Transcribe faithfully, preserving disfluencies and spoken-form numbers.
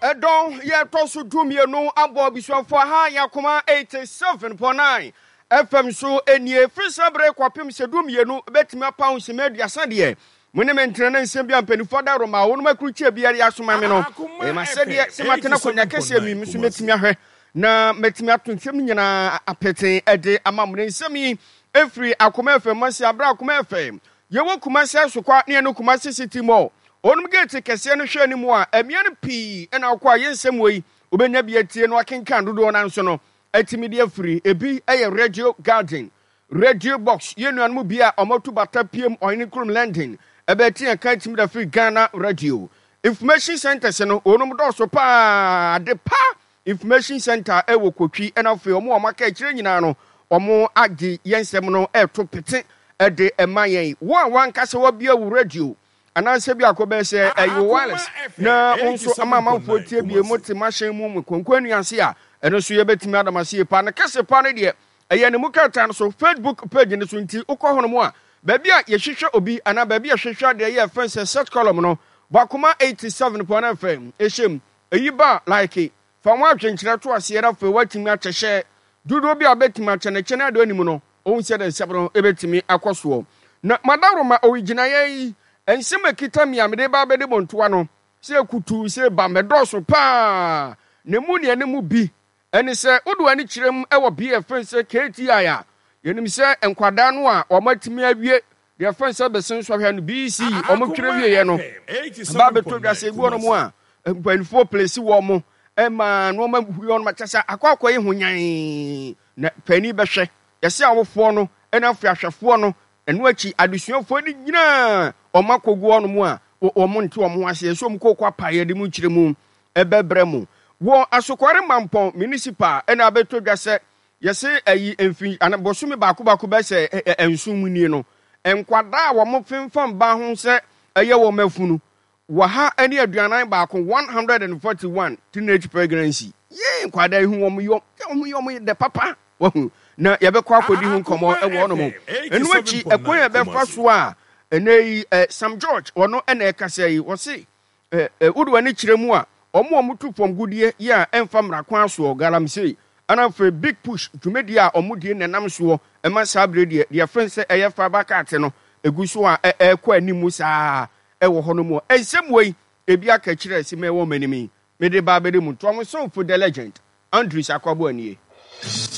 Ɛdɔn yɛtɔ so du mmienu abɔ abusuafoɔ ha yɛ Akoma eighty-seven point nine F M so nie. Firi sɛ bere kɔpem sɛ du mmienu bɛtumi apa nsɛm aduasa deɛ, mo ne me ntena ne nsɛm bi a mpanimfoɔ da roma a wɔnom akurukyia biara asoma me no. Ɛma sɛdeɛ sɛ matena akonnwa kɛseɛ mi nso mɛtumi ahwɛ na mɛtumi ato nsɛm no nyinaa apete ɛde ama mo. Ne nsɛm yi ɛfiri Akoma F M ase. Aberɛ Akoma F M yɛwɔ Kumase Asokwa ne ɛno Kumase City Mall ɔnom gate kɛseɛ no hwɛ anim a ɛmea no pii ɛna akɔ a yɛ nsɛm wɔ yi wobɛnya bi atie no akenkan dodoɔ no nso no atumi de afiri. Ebi yɛ Radio Garden, Radio Box, yɛn nuanom bi a ɔmatu bata piem ɔhene kurom London ɛbɛte yɛn ka atumi da firi Ghana Radio Information Centers no. Wɔnom dɔɔso paa de pa Information Center ɛwɔ Kotwi, ɛna afei ɔmo a ɔmo aka akyire nyinaa no, ɔmo agye yɛn nsɛm no ɛɛto pete ɛde ɛma yɛn. Wɔn a wankasa wabia wo radio anaasɛ bi akɔ bɛyɛ sɛ ɛyɛ wireless na wɔn nso ama amanfoɔ tie bie mo te mahyɛn mu mu konko anuase a, ɛno nso yɛbɛtumi adam ase yie paa. Ne kɛse paa no deɛ, ɛyɛ ne mu krataa no so, Facebook page no so. Nti wokɔ hɔ nom a, baabi a yɛhwehwɛ obi anaa baabi a yɛhwehwɛ adeɛ yɛ fɛn sɛ search column no, Bakoma eighty-seven point nine F M ɛhyɛ mu. Eyi ba, like, fa wɔn adwenkyerɛ to aseɛ na afei woatumi akyɛhyɛ dodoɔ bi a wobɛtumi akyɛ ne kyɛ no adeɛ anim no, ohun sɛ de nsɛm no ɛbɛtumi akɔ soɔ. Na madaworoma owigyinaeɛ yi, nsɛm a ɛkita mi a mede ba bɛde bɔntoa no sɛ kutu sɛ ba mɛdɔɔso paa na mu nea ne mu bi ɛne sɛ wode w'ani kyerɛ mu ɛwɔ bia ɛfɛn sɛ K T I a yɛnim sɛ nkwadaa no a wɔn atumi awie deɛ fɛn sɛ bɛsen sɔhwɛ no B E C, wɔn twerɛ wieɛ no ba bɛtɔ dwa sɛ ebi wɔ nom a mpanimfoɔ place wɔ mo ɛma nneɛma hu wɔn kyɛ sɛ akɔ akɔ yi ho nyan na panin bɛhwɛ yɛsɛ awofoɔ no ɛna afei ahwɛfoɔ no. Ɛno akyi adesuafoɔ no nyinaa wɔn akɔgu hɔ nom a wɔn nte wɔn ho aseɛ nso wɔn kɔkɔ apaeɛ de mu kyerɛ mu ɛbɛbrɛ mu. Wɔ Asokɔre Mampɔn Municipal ɛna abɛtɔ dwa sɛ yɛsɛ ɛyi mfi ana bɔsome baako baako bɛ sɛ ɛ nson mu nie no, nkwadaa a wɔn femfam ba ho sɛ ɛyɛ wɔn afunu wɔha ne aduanan baako, one hundred and forty-one teenage pregnancy. Yee, nkwadaa yi ho wɔn yɔ wɔn yɛ wɔn dɛ papa wahu na yɛbɛkɔ akɔdi ho nkɔmmɔ ɛwɔ hɔnom. Ɛno akyi, ɛkwan a yɛbɛfa so a ɛnɛ yi ɛ Sam George ɔno ɛna ɛkasa yi, wɔse ɛ ɛ wode w'ani kyerɛ mu a, ɔmo a ɔmo tu fam gudeɛ yi a ɛmfa mmara kwan soɔ, galamsey, ɛna afei Big Push dwumadie a ɔmo die nenam soɔ ɛma saa bere deɛ deɛ fɛn sɛ ɛyɛ fibre cut no egu so a ɛrekɔ anim saa ɛwɔ hɔ no mu. Nsɛm wei ebi aka kyerɛ si mɛ wɔ m'anim yi mede ba abɛde mu ntoa mo somfo, the legend Andrews Akwaboa nie.